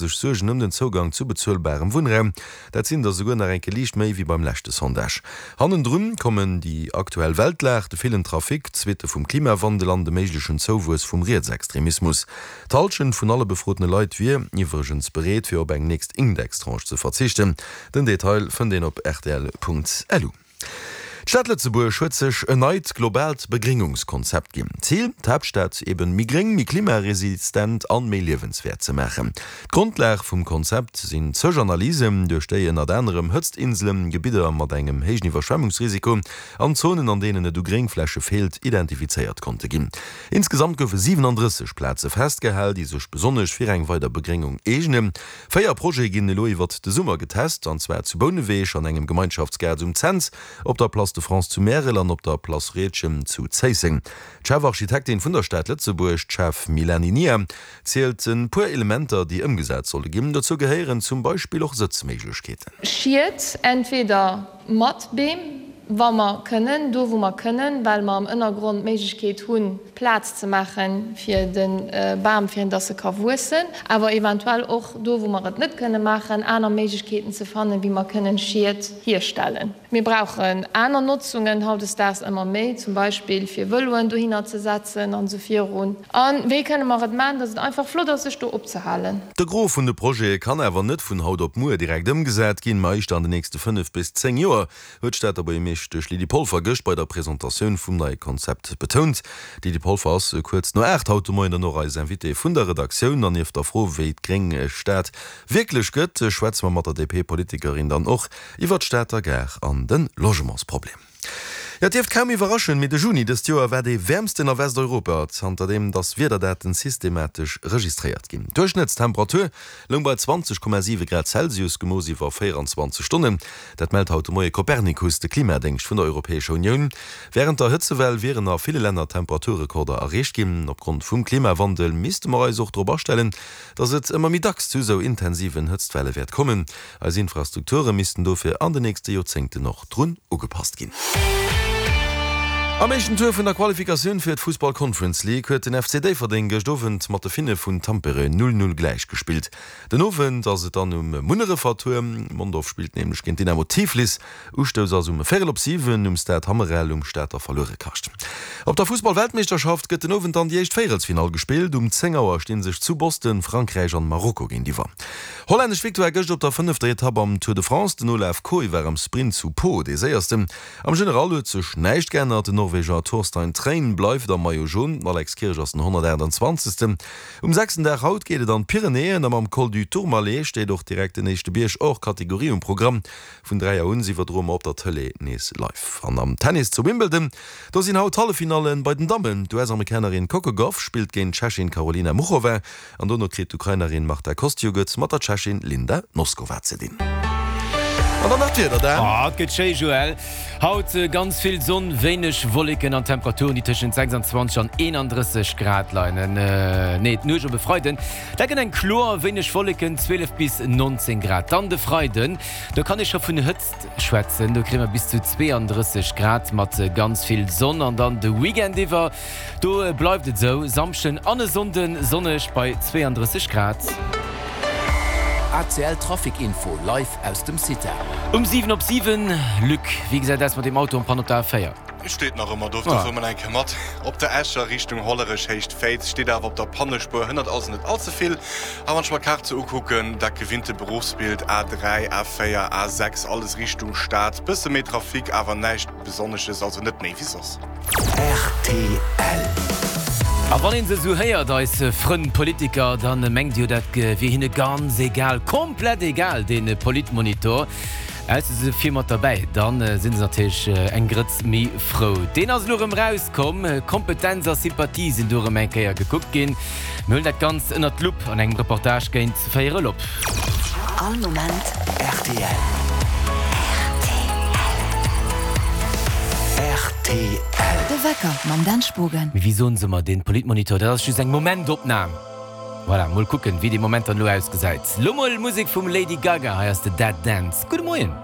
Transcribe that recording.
Sech Suergen ëm den Zougang zu bezuelbarem Wunnraum. Dat sinn der souguer nach eng Kéier liicht méi wéi beim leschte Sondage. Hannendrun kommen déi aktuell Weltlag, de villen Trafic, d'Suitte vum Klimawandel an de méiglechen Zouwuess vum Rietsextremismus. D'Hallschent vun alle befrotene Leit wier iwwregens bereet, fir op eng nächst Indextranche ze verzichten. Den Detail fënnt een op rtl.lu. D'Stad Lëtzebuerg huet sech en neit globaalt Begréngungskonzept ginn. Zil, d'Haaptstad eben méi gréng, méi klimaresistent an méi liewenswäert ze maachen. D'Grondlag vum Konzept sinn zeg Analysen, duerch déi ënnert anerem Hëtztinselen, Gebidder mat engem héijen Iwwerschwemmungsrisiko an Zonen, an deenen et u Gréngfläche feelt, identifizéiert konnte ginn. Insgesamt goufe 37 Plaze festgehal, déi sech besonnesch fir eng weider Begréngung eegnen. 4 Projete ginn elo iwwert de Summer getest, an zwar zu Bouneweg an engem Gemeinschaftsgaart um Cents, op der Place de France zu Märel an op der Place Riedgen zu Zéisseng. D'Chefarchitektin vun der Stad Lëtzebuerg, d'Chef Milani Nia, zielt e puer Elementer, déi ëmgesat solle ginn. Dozou gehéieren zum Beispill och Sëtzméiglechkeeten. Schied, entweder Mat Beem, wa mer kënnen, do wou mer kënnen, well mer am Ënnergrond d'Méiglechkeet hunn, Plaz ze maache fir de Bam, fir dass e ka wuessen, awer eventuell och do wou mer et net kënne maachen, aner Méiglechkeeten ze fannen, wéi mer kënnen Schied hierstellen. Mir brauchen aner Notzungen hautdesdaags ëmmer méi, zum Beispill fir Vëloen dohinner ze setzen an esou virun. A wéi kënne mer et maachen, dass et einfach flott ass, sech do opzehalen? De Gros vun de Projete kann awer net vun haut op muer direkt ëmgesat ginn, ma éischter an de nächste 5 bis 10 Joer, huet d'Stater Buergermeeschtesch Lydie Polfer gëscht bei der Presentatioun vum neie Konzept betount. D'Lydie Polfer ass kuerz no 8 haut de Moien dann och eis Invitée vun der Redaktioun. An nieft der Fro, wéi d'gréng Stad wierklech gëtt, schwätze mer mat der DP-Politikerin dann och iwwer d'Stater Gare an de Logementsproblem. Jo, et dierft kaum iwwerraschen, mee de Juni dëst Joer war dee wäermsten a Westeuropa, zanterdeem dass Wiederdaten systematesch registréiert ginn. D'Duerchschnëttstemperatur loung bei 20,7 Grad Celsius, gemooss iwwer 24 Stonnen. Dat mellt haut de Moie Copernicus, de Klimadéngscht vun der Europäescher Unioun. Wärend der Hëtzewell wieren a ville Länner Temperaturrekorder erreecht ginn. Opgrond vum Klimawandel misste mer eis och drop astellen, dass et ëmmer méi dacks zu esou intensiven Hëtztwelle wäert kommen. Eis Infrastrukture missten dofir an de nächste Joerzéngten och drun ugepasst ginn. Am éischten Tour vun der Qualifikatioun fir d'Fussball Conference League huet den FC Déifferdeng gëscht Owend mat de Finne vun Tampere 0, 0 gläich gespillt. Den Owend ass et dann um Munnerefer Tour. Mondorf spillt nämlech géint Dynamo Tiflis. Ustouss ass um véierel op 7 um Stade Hammerel um Stater Verluerekascht. Op der Fussball-Weltmeeschterschaft gëtt den Owend dann déi éischt Véierelsfinall gespillt. Um 10 Auer sti sech zu Boston Frankräich an Marokko géintiwwer. Hollännesch Victoire gëscht op der fënnefter Etapp am Tour de France. Den Olav Kooij war am Sprint zu Pau dee séiersten. Am General huet sech näischt geännert, den Norweger Torstein Træen bleift am Maillot Jaune, den Alex Kirsch ass den 128. Um sechsten Dag haut geet et an d'Pyrenäen a mam Col du Tourmalet steet och direkt den éischte Bierg hors Catégorie um Programm. Vun 3 Auer un iwwerdroe mer op der Tëlee nees live. An am Tennis zu Wimbledon, do sinn haut d'Halleffinallen bei den Dammen. D'US-Amerikanerin Coco Gauff spillt géint d'Tschechin Karolina Muchova. An dono kritt d'Ukrainerin Marta Kostyuk et mat der Tschechin Linda Noskova ze dinn. An dann nach d'Wieder, Dan. Oh, et gëtt schéi, Joël. Haut ganz vill Sonn, wéineg Wolleken an Temperaturen, déi tëschent 26 an 31 Grad leien. Nee, d'Nuecht op e Freiden, dat gëtt eng kloer, wéineg Wolleken, 12 bis 19 Grad. Dann de Freiden, do kann ee scho vun Hëtzt schwätzen, do kréie mer bis zu 32 Grad mat ganz vill Sonn. An dann de Weekend iwwer, Do bleift et esou, Samschden an e Sonnden sonneg bei 32 Grad. ACL Trafic Info live aus dem CITA. Um 7 op 7, Luc, wéi gesäit aus mat deem Auto en panne op der A4? Steet nach ëmmer do, do fuere mer nach eng Kéier mat. Op der Escher Richtung Hollerech Héicht Féiz steet awer op der Pannespuer, hënnert also net all ze vill. A wann ech mer d'Kaart sou ukucken, dat gewinnte Beruffsbild, A3, A4, A6, alles Richtung Stad, bësse méi Trafic, awer näischt Besonnesches, also net méi wéi soss. Rtl. A wann een se esou héiert, eis Frënn Politiker, da mengt ee jo, dat wier hinne ganz egal, komplett egal, dee Politmonitor. Ausser se si vir mat derbäi, da si se natierlech eng Grëtz méi frou. Deen ass elo erëm erauskomm. Kompetenz a Sympathie sinn do erëm eng Kéier gekuckt ginn. Mir huelen dat Ganzt ënnert d'Lupp an engem Reportage géint véierel op. All Moment rtl. Rtl. De Wecker mam Dan Spogen. Mee wéi soen se ëmmer, deen Politmonitor, dat ass just eng Momentopnam. Voilà, mol kucken, wéi dee Moment dann elo ausgesäit. Lo mol Musek vum Lady Gaga, hei ass de Dead Dance. Gudde Moien.